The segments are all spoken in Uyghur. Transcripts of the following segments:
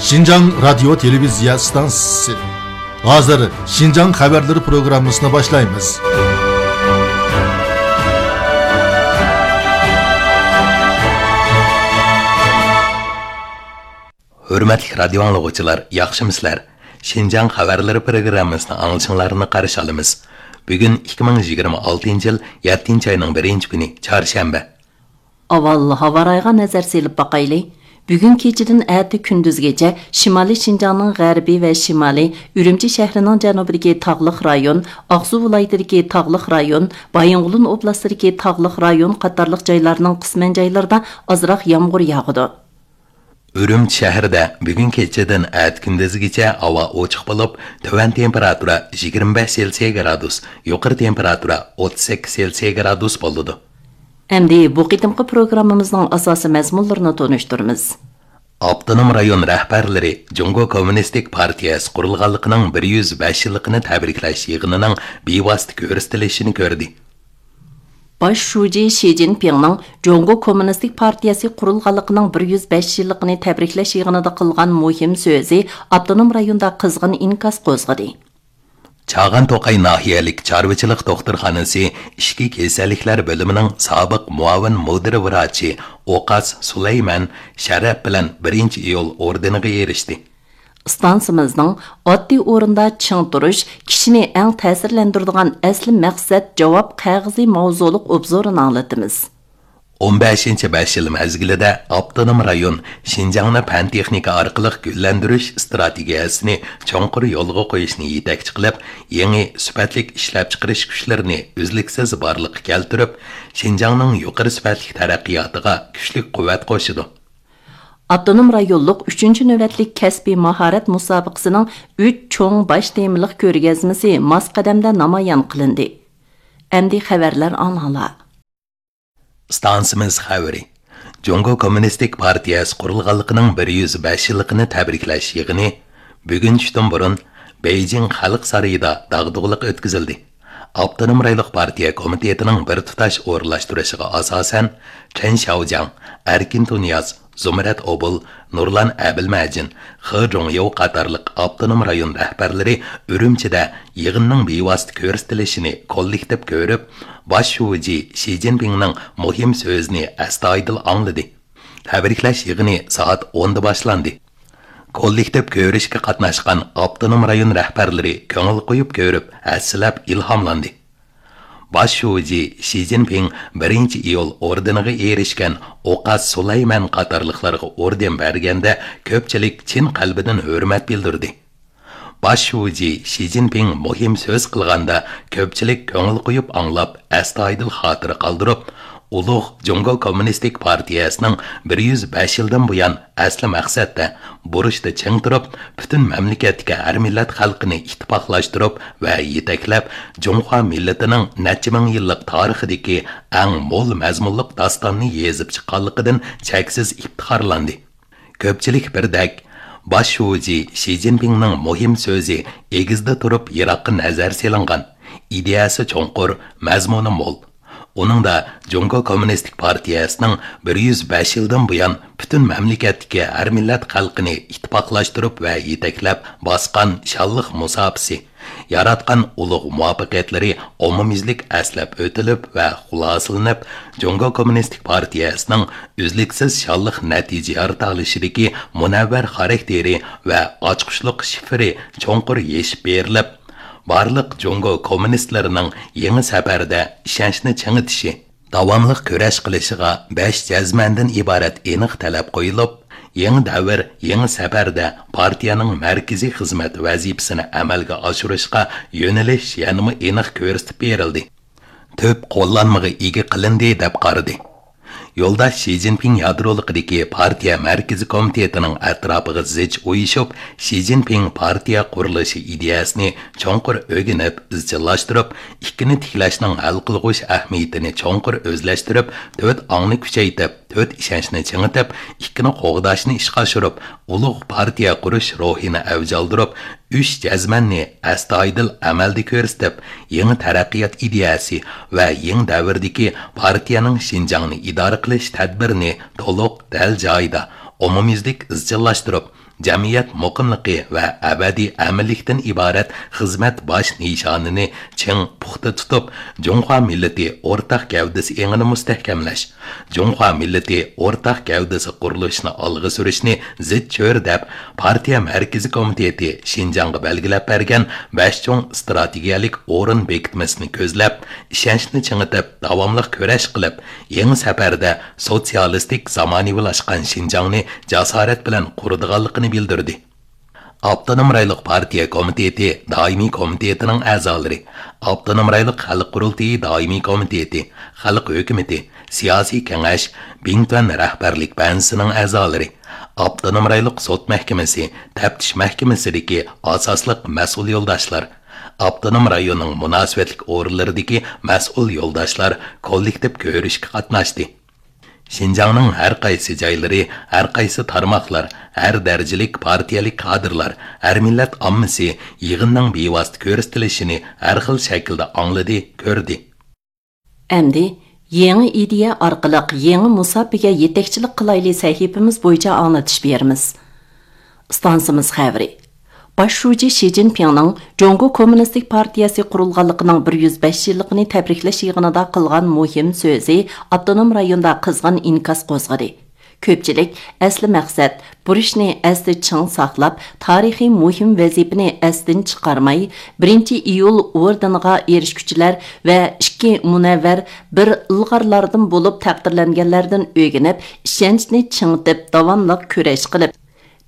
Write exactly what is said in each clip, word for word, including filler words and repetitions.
شىنجاڭ رادىيو تېلېۋىزىيە ئىستانسىسى. ھازىر شىنجاڭ خەۋەرلىرى پروگراممىسىنى باشلايمىز. ھۆرمەتلىك رادىيو ئاڭلىغۇچىلار، ياخشىمۇسىلەر؟ شىنجاڭ خەۋەرلىرى پروگراممىسىنى ئاڭلىشىڭلارنى قارشى ئالىمىز. بۈگۈن ئىككى مىڭ يىگىرمە ئالتىنچى يىل يەتتىنچى ئاينىڭ بىرىنچى كۈنى، چارشەنبە. ئاۋۋال ھاۋا رايىغا نەزەر سېلىپ باقايلى. بۈگۈن كېچىدىن ئەتە كۈندۈزگىچە شىمالىي شىنجاڭنىڭ غەربى ۋە شىمالى، ئۈرۈمچى شەھىرىنىڭ جەنۇبىدىكى تاغلىق رايون، ئاقسۇ ۋىلايىتىدىكى تاغلىق رايون، بايىنغولىن ئوبلاستىدىكى تاغلىق رايون قاتارلىق جايلارنىڭ قىسمەن جايلىرىدا ئازراق يامغۇر ياغىدۇ. ئۈرۈمچى شەھىرىدە بۈگۈن كېچىدىن ئەتە كۈندۈزگىچە ھاۋا ئوچۇق بولۇپ، تۆۋەن تېمپېراتۇرا يىگىرمە بەش سېلسىيە گرادۇس، يۇقىرى تېمپېراتۇرا ئوتتۇز سەككىز سېلسىيە گرادۇس بولىدۇ. ئەمدى بۇ قېتىمقى پروگراممىمىزنىڭ ئاساسىي مەزمۇنلىرىنى تونۇشتۇرىمىز. ئاپتونوم رايون رەھبەرلىرى جۇڭگو كوممۇنىستىك پارتىيەسى قۇرۇلغانلىقىنىڭ بىر يۈز بەش يىللىقىنى تەبرىكلەش يىغىنىنىڭ بىۋاسىتە كۆرسىتىلىشىنى كۆردى. باش شۇجى شى جىنپىڭنىڭ جۇڭگو كوممۇنىستىك پارتىيەسى قۇرۇلغانلىقىنىڭ بىر يۈز بەش يىللىقىنى تەبرىكلەش يىغىنىدا قىلغان مۇھىم سۆزى ئاپتونوم رايوندا قىزغىن ئىنكاس قوزغىدى. چاغان توقاي ناھىيەلىك چارۋىچىلىق دوختۇرخانىسى ئىچكى كېسەللىكلەر بۆلۈمىنىڭ سابىق مۇئاۋىن مۇدىر ۋراچى ئوقاس سۇلەيمەن شەرەپ بىلەن بىرىنچى ئىيۇل ئوردېنىغا ئېرىشتى. ئىستانسىمىزنىڭ ئاددىي ئورۇندا چىڭ تۇرۇش، كىشىنى ئەڭ تەسىرلەندۈرىدىغان ئەسلى مەقسەت جاۋاب قەغىزى ماۋزۇلۇق ئوبزورىنى ئاڭلىتىمىز. ئون بەشىنچى بەش يىل مەزگىلىدە ئاپتونوم رايون شىنجاڭنى پەن-تېخنىكا ئارقىلىق گۈللەندۈرۈش ئىستراتېگىيەسىنى چوڭقۇر يولغا قويۇشنى يېتەكچى قىلىپ، يېڭى سۈپەتلىك ئىشلەپچىقىرىش كۈچلىرىنى ئۈزلۈكسىز بارلىققا كەلتۈرۈپ، شىنجاڭنىڭ يۇقىرى سۈپەتلىك تەرەققىياتىغا كۈچلۈك قۇۋۋەت قوشىدۇ. ئاپتونوم رايونلۇق ئۈچىنچى نۆۋەتلىك كەسپىي ماھارەت مۇسابىقىسىنىڭ ئۈچ چوڭ باش تېمىلىق كۆرگەزمىسى ماس قەدەمدە نامايان قىلىندى. ئەمدى خەۋەرلەر ئاڭلاڭلار. ئىستانسىمىز خەۋىرى. جۇڭگو كوممۇنىستىك پارتىيەسى قۇرۇلغانلىقىنىڭ بىر يۈز بەش يىللىقىنى تەبرىكلەش يىغىنى بۈگۈن چۈشتىن بۇرۇن بېيجىڭ خەلق سارىيىدا داغدۇغىلىق ئۆتكۈزۈلدى. ئاپتونوم رايونلۇق پارتىيە كومىتېتىنىڭ بىر تۇتاش ئورۇنلاشتۇرۇشىغا ئاساسەن، چېن شياۋجياڭ، ئەركىن تۇنىياز، زۇمرەت ئوبۇل، نۇرلان ئەبىلمەجىن، خې جۇڭيىۋ قاتارلىق ئاپتونوم رايون رەھبەرلىرى ئۈرۈمچىدە يىغىننىڭ بىۋاسىتە كۆرسىتىلىشىنى كوللېكتىپ كۆرۈپ، باش شۇجى شى جىنپىڭنىڭ مۇھىم سۆزىنى ئەستايىدىل ئاڭلىدى. تەبرىكلەش يىغىنى سائەت ئوندا باشلاندى. كوللېكتىپ كۆرۈشكە قاتناشقان ئاپتونوم رايون رەھبەرلىرى كۆڭۈل قويۇپ كۆرۈپ، ھەسسىلەپ ئىلھاملاندى. باش شۇجى شى جىنپىڭ بىرىنچى ئىيۇل ئوردېنىغا ئېرىشكەن ئوقاس سۇلايمەن قاتارلىقلارغا ئوردېن بەرگەندە، كۆپچىلىك چىن قەلبىدىن ھۆرمەت بىلدۈردى. باش شۇجى شى جىنپىڭ مۇھىم سۆز قىلغاندا، كۆپچىلىك كۆڭۈل قويۇپ ئاڭلاپ، ئەستايىدىل خاتىرە قالدۇرۇپ، ئۇلۇغ جۇڭگو كوممۇنىستىك پارتىيەسىنىڭ بىر يۈز بەش يىلدىن بۇيان ئەسلى مەقسەتتە، بۇرچتا چىڭ تۇرۇپ، پۈتۈن مەملىكەتتىكى ھەر مىللەت خەلقىنى ئىتتىپاقلاشتۇرۇپ ۋە يېتەكلەپ، جۇڭخۇا مىللىتىنىڭ نەچچە مىڭ يىللىق تارىخىدىكى ئەڭ مول مەزمۇنلۇق داستاننى يېزىپ چىققانلىقىدىن چەكسىز ئىپتىخارلاندى. كۆپچىلىك بىردەك، باش شۇجى شى جىنپىڭنىڭ مۇھىم سۆزى ئېگىزدە تۇرۇپ يىراققا نەزەر سېلىنغان، ئىدىيەسى چوڭقۇر، مەزمۇنى مول. ئۇنىڭدا جۇڭگو كوممۇنىستىك پارتىيەسىنىڭ بىر يۈز بەش يىلدىن بۇيان پۈتۈن مەملىكەتتىكى ھەر مىللەت خەلقىنى ئىتتىپاقلاشتۇرۇپ ۋە يېتەكلەپ باسقان شانلىق مۇساپىسى، ياراتقان ئۇلۇغ مۇۋەپپەقىيەتلىرى ئومۇميۈزلۈك ئەسلەپ ئۆتۈلۈپ ۋە خۇلاسىلىنىپ، جۇڭگو كوممۇنىستىك پارتىيەسىنىڭ ئۈزلۈكسىز شانلىق نەتىجە يارىتالىشىدىكى مۇنەۋۋەر خاراكتېرى ۋە ئاچقۇچلۇق شىفىرى چوڭقۇر يېشىپ بېرىلىپ، بارلىق جۇڭگو كوممۇنىستلىرىنىڭ يېڭى سەپەردە ئىشەنچنى چىڭىتىشى، داۋاملىق كۈرەش قىلىشىغا بەش جەزمەندىن ئىبارەت ئېنىق تەلەپ قويۇلۇپ، يېڭى دەۋر، يېڭى سەپەردە پارتىيەنىڭ مەركىزىي خىزمەت ۋەزىپىسىنى ئەمەلگە ئاشۇرۇشقا يۆنىلىش يەنىمۇ ئېنىق كۆرسىتىپ بېرىلدى. تۈپ قوللانمىغا ئىگە قىلىندى، دەپ قارىدى. يولداش شى جىنپىڭ يادرولۇقىدىكى پارتىيە مەركىزىي كومىتېتىنىڭ ئەتراپىغا زىچ ئۇيۇشۇپ، شى جىنپىڭ پارتىيە قۇرۇلۇشى ئىدىيەسىنى چوڭقۇر ئۆگىنىپ، ئىزچىللاشتۇرۇپ، ئىككىنى تىكلەشنىڭ ھەل قىلغۇچ ئەھمىيىتىنى چوڭقۇر ئۆزلەشتۈرۈپ، تۆت ئاڭنى كۈچەيتىپ، تۆت ئىشەنچنى چىڭىتىپ، ئىككىنى قوغداشنى ئىشقا ئاشۇرۇپ، ئۇلۇغ پارتىيە قۇرۇش روھىنى ئەۋج ئالدۇرۇپ، ئۈچ جەزمەننى ئەستايىدىل ئەمەلدە كۆرسىتىپ، يېڭى تەرەققىيات ئىدىيەسى ۋە يېڭى دەۋردىكى پارتىيەنىڭ شىنجاڭنى ئىدارە قىلىش تەدبىرىنى تولۇق، دەل جايىدا، ئومۇميۈزلۈك ئىزچىللاشتۇرۇپ، جەمئىيەت مۇقىملىقى ۋە ئەبەدىي ئەمىنلىكتىن ئىبارەت خىزمەت باش نىشانىنى چىڭ پۇختا تۇتۇپ، جۇڭخۇا مىللىتى ئورتاق گەۋدىسى ئېڭىنى مۇستەھكەملەش، جۇڭخۇا مىللىتى ئورتاق گەۋدىسى قۇرۇلۇشىنى ئالغا سۈرۈشنى زىچ چۆرىدەپ، پارتىيە مەركىزىي كومىتېتى شىنجاڭغا بەلگىلەپ بەرگەن بەش چوڭ ئىستراتېگىيەلىك ئورۇن بېكىتمىسىنى كۆزلەپ، ئىشەنچنى چىڭىتىپ، داۋاملىق كۈرەش قىلىپ، يېڭى سەپەردە سوتسىيالىستىك زامانىۋىلاشقان شىنجاڭنى جاسارەت بىلەن قۇرىدىغانلىقىنى بىلدۈردى. ئاپتونوم رايونلۇق پارتىيە كومىتېتى دائىمىي كومىتېتىنىڭ ئەزالىرى، ئاپتونوم رايونلۇق خەلق قۇرۇلتىيى دائىمىي كومىتېتى، خەلق ھۆكۈمىتى، سىياسىي كېڭەش، بىڭتۈەن رەھبەرلىك بەنزىسىنىڭ ئەزالىرى، ئاپتونوم رايونلۇق سوت مەھكىمىسى، تەپتىش مەھكىمىسىدىكى ئاساسلىق مەسئۇل يولداشلار، ئاپتونوم رايوننىڭ مۇناسىۋەتلىك ئورۇنلىرىدىكى مەسئۇل يولداشلار كوللېكتىپ كۆرۈشكە قاتناشتى. شىنجاڭنىڭ ھەر قايسى جايلىرى، ھەر قايسى تارماقلار، ھەر دەرىجىلىك پارتىيەلىك كادىرلار، ھەر مىللەت ئاممىسى يىغىننىڭ بىۋاسىتە كۆرسىتىلىشىنى ھەر خىل شەكىلدە ئاڭلىدى، كۆردى. ئەمدى يېڭى ئىدىيە ئارقىلىق يېڭى مۇساپىگە يېتەكچىلىك قىلايلى سەھىپىمىز بويىچە ئاڭلىتىش بېرىمىز. ئىستانسىمىز خەۋىرى. باش شۇجى شى جىنپىڭنىڭ جۇڭگو كوممۇنىستىك پارتىيەسى قۇرۇلغانلىقىنىڭ بىر يۈز بەش يىللىقىنى تەبرىكلەش يىغىنىدا قىلغان مۇھىم سۆزى ئاپتونوم رايوندا قىزغىن ئىنكاس قوزغىدى. كۆپچىلىك ئەسلى مەقسەت، بۇرچنى ئەستە چىڭ ساقلاپ، تارىخىي مۇھىم ۋەزىپىنى ئەستىن چىقارماي، بىرىنچى ئىيۇل ئوردېنىغا ئېرىشكۈچىلەر ۋە ئىككى مۇنەۋۋەر بىر ئىلغارلاردىن بولۇپ تەقدىرلەنگەنلەردىن ئۆگىنىپ، ئىشەنچنى چىڭىتىپ، داۋاملىق كۈرەش قىلىپ،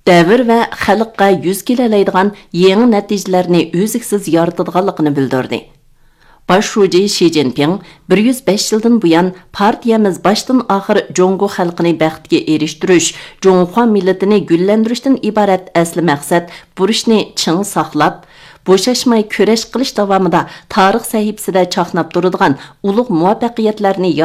دەۋر ۋە خەلققە يۈز كېلەلەيدىغان يېڭى نەتىجىلەرنى ئۈزلۈكسىز يارىتىدىغانلىقىنى بىلدۈردى. باش شۇجى شى جىنپىڭ بىر يۈز بەش يىلدىن بۇيان پارتىيەمىز باشتىن ئاخىر جۇڭگو خەلقىنى بەختكە ئېرىشتۈرۈش، جۇڭخۇا مىللىتىنى گۈللەندۈرۈشتىن ئىبارەت ئەسلى مەقسەت بۇرچنى چىڭ ساقلاپ، بوشاشماي كۈرەش قىلىش داۋامىدا تارىخ سەھىپىسىدە چاقناپ تۇرىدىغان ئۇلۇغ مۇۋەپپەقىيەتلەرنى ياراتتى.